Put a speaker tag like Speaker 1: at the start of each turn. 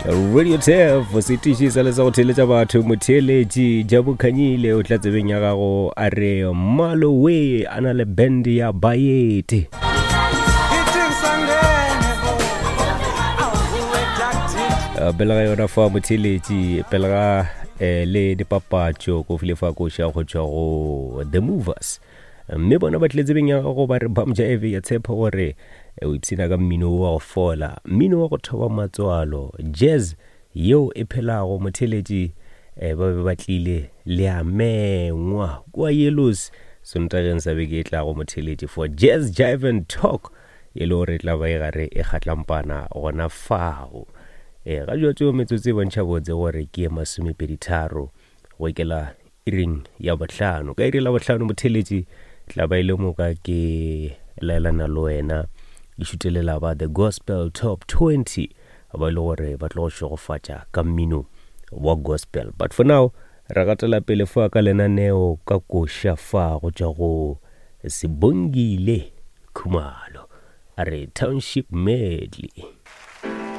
Speaker 1: Radio Turf setiši sa le sa go theeletša batho motheeletši Jabu Khanyile o tla tsebeng ya gago a re Malowe a na le band ya Bayete. Eh, pele ga yona fa motheeletši pele ga eh, le dipapatšo ko file fa koša go tšwa go The Movers. Mme bona ba tlile tsebeng ya gago ba re Bamja Eve ya tshepa gore eh, o ipshina ka mmino wa go fola, mmino wa go thoba matswalo, jazz yeo e phelago. Motheeletši eh, ba be ba tlile le a mengwa kua Yellows Sontageng sa beke e tlago motheeletši for Jazz Jive and Talk e le gore e tla ba e gare e kgatlampana gona fao. E, ga jwatšo metsotso e bontšha botse gore ke e masomepeditharo go ikela iring ya bohlano. Ka iri la bohlano motheletši tla ba e le moka ke laelana le wena ke šutelela ba The Gospel Top 20 ba e le gore ba tlo go šegofatša ka mmino wa gospel. But for now re gatela pele fa ka lenaneo ka koša fa go tšwa go Sibongile Khumalo a re Township Medley.